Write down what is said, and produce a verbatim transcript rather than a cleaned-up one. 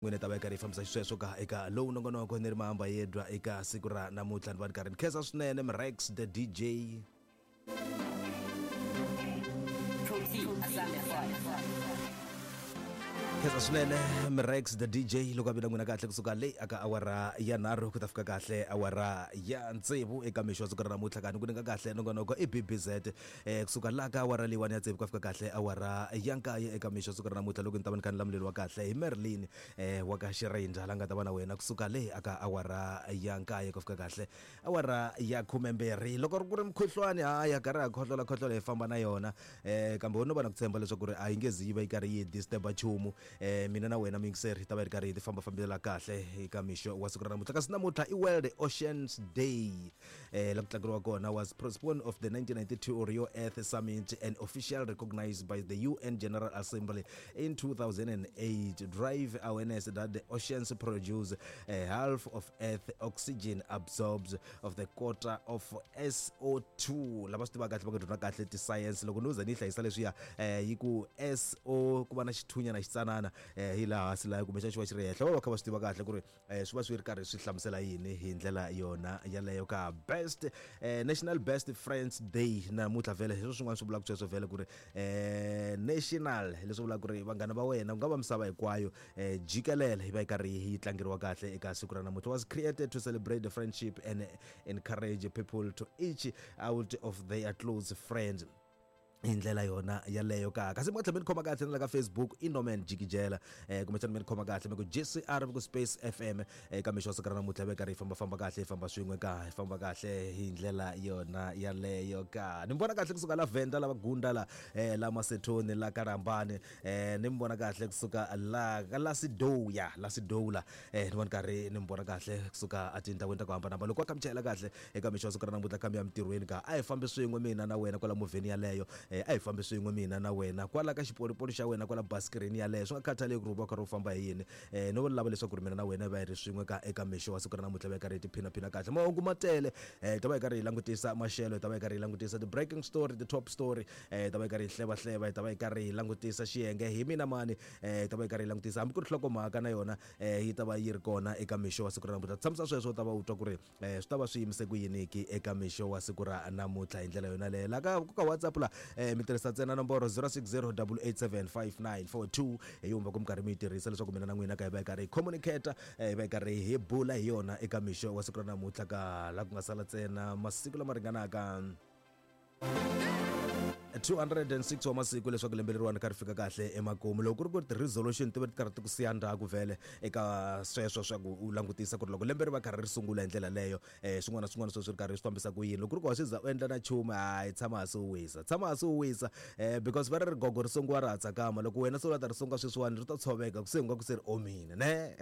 N'wina ta va yi karhi yi fambisa xisweswo ka eka lowu nongonoko ni ri mahamba yedwa eka siku ra namuntlha. Ni va ni karhi ni khensa swinene Mrex the D J. Protein Asante. Khensa swinene Mrex the D J loko a vi na n'wina kahle kusuka leyi aka awara ya nharhu ku ta fika kahle awara ya tsevu eka mixo wa siku ra namuntlha. Kani ku nyika kahle nongonoko i B B Z eh kusuka laha ka awara leyiwani ya tsevu ku fika kahle awara ya nkaye eka mixo wa siku ra namuntlha, loko ni ta va ni kha ni lamuleriwa kahle hi Merlin eh wa ka Xirindza, la nga ta va na wena kusuka le aka awara ya nkaye ku fika kahle awara ya khumembirhi. Loko ri ku ri mukhuhlwani, haya karhi ha khohlola khohlola, hi famba na yona eh kambe wo no va na ku tshemba leswaku ri a yi nge zi yi va yi karhi yi disturba nchumu. eh mina na wena muyingiseri hi ta va hi ri karhi hi ti fambafambela kahle eka mixo wa siku ra namuntlha. Kasi namuntlha i World Oceans Day eh la ku tlangeriwa kona was postponed of the nineteen ninety-two Rio Earth Summit and officially recognized by the U N General Assembly in two thousand eight, drive awareness that the oceans produce uh, half of Earth oxygen, absorbs of the quarter of S O two. Lava swi tivaka kahle va nga dyondza kahle ti-science, loko no za ni yi hlayisa leswiya eh yi ku S O ku va na xithunyana xitsanana eh hi laha hansi laha kumbexana xi va xi ri henhla, va va kha va swi tiva kahle ku ri eh swi va swi ri karhi swi hlamusela yini hi ndlela yona yaleyo ka. Best eh, National Best Friends Day namuntlha vhele, hi swin'wana swi vulaka sweswo vhele ku ri eh national, leswi vulaka ku ri vanghana va wena ku nga va misava hinkwayo eh jikelele yi va yi karhi yi tlangeriwa kahle eka siku ra namuntlha. Was created to celebrate the friendship and encourage people to reach out of their close friends hi ndlela yona yaleyo ka. Kasi mi nga tlhela mi ni khoma kahle na la ka Facebook i Norman Jikijela eh kumbexana mi ni khoma kahle mi ku J C R, mi ku Space F M eka mixo wa siku ra namuntlha, va karhi hi fambafamba kahle, hi famba swin'we ka, hi famba kahle hi ndlela yona yaleyo ka. Ni mi vona kahle kusuka la Venda, la Gunda, la eh la Masetoni, la Karambani eh ni mi vona kahle kusuka la la Sidoya, la Sidola eh ni vona karhi ni mi vona kahle kusuka etindhawini ta ku hambanahambana. Loko wa kha mi chayela kahle eka mixo wa siku ra namuntlha, kha mi ya mintirhweni ka, a hi fambi swin'we mina na wena kwala movheni yaleyo eh a hi fambi swin'we mina na wena kwala ka xipolipoli xa wena, kwala basikireni yaleyo, swi nga khathaleki ku ri u va u karhi u famba hi yini eh no lava leswaku ri mina na wena hi va hi ri swin'we ka eka mixo wa siku ra namuntlha, va hi karhi hi tiphinaphina kahle. Mahungu ma tele eh hi ta va hi karhi hi langutisa maxelo, hi ta va hi karhi hi langutisa the breaking story, the top story eh hi ta va hi karhi hi hlevahleva, hi ta va hi karhi hi langutisa xiyenge hi mina mani eh hi ta va hi karhi hi langutisa hambi ku ri nhlokomhaka na yona eh yi ta va yi ri kona eka mixo wa siku ra namuntlha. Tshamisa sweswo, u ta va u twa ku ri eh swi ta va swi yimise ku yiniki eka mixo wa siku ra namuntlha hi ndlela yona leyo. La ka ka WhatsApp la eh mi tirhisa ntsena nomboro zero six zero eight eight seven five nine four two, hi yumba ku mi karhi mi yi tirhisa leswaku mina na n'wina ka hi va hi karhi hi communicate eh hi va hi karhi hi bula hi yona eka mixo wa siku ra namuntlha ka la ku nga sala ntsena masiku lama ringanaka two hundred and six wa masiku leswaku lembe leriwani kha ri fika kahle emakumu. Loko ku ri ku ri ti-resolution ti va ti karhi ti ku siya ndzhaku vhele eka sweswo swa ku u langutisa ku ri loko lembe ri va karhi ri sungula hi ndlela leyo um swin'wana na swin'wana sweswi ri karhi swi fambisa ku yini. Loko ku ri ku wa swi za u endla na nchumu, hayi, tshama hansi u wisa, tshama hansi u wisa um because va ri rigogo ri sungiwa ra ha tsakama. Loko wena se u la ta ri sunga sweswiwani, ri ta tshoveka ku se nga ku se ri omile ne.